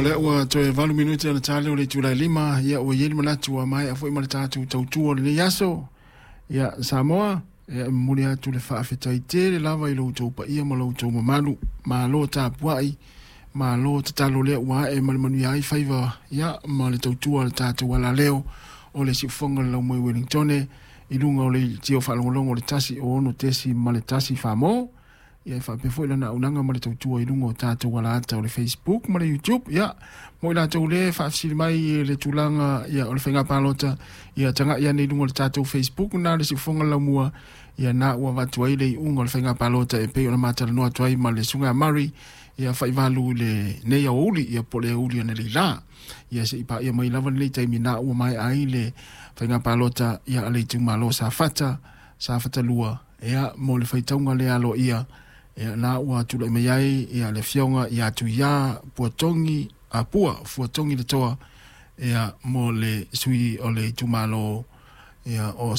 O lea ua toe 8 minute ona ta lea o le itula e 5, ia ua i ai le manatu ua maea foi ma le tatou tautua o lenei aso. Ia Samoa, ia e momoli atu le faafetai tele lava i lo outou paia ma lo outou mamalu. Malo tapuai, malo tatalo lea ua ae ma le manuia ai faiva ia ma le tautua a le tatou alaleo o le siufofoga o le laumoi Wellingtone i luga o le tio faalogologo o le 106.1 Famo. Ia e faapea foi lana auaunaga ma le tautua i luga o tatou alaata o le Facebook ma le YouTube. Ia, mo i latou le faafesili mai i le tulaga ia, o le faiga palota, ia tagai ane i luga o le tatou Facebook na le siufofoga laumua, ia na ua avatu ai le iuga o le faiga palota e pei ona matalanoa atu ai ma le susuga ia Murray, ia faivalu i lenei aoauli, ia po o le aoauli analeila. Ia se i paia mai lava lenei taimi na ua maea ai le faiga palota ia a le itumalo Safata, Safata 2, ia mo le faitauga lea aloaia, ia na ua tulai mai ai ia le afioga ia Tuia Puatogi, Pua Fuatogi Letoa, ia mo le sui o le itumalo ia o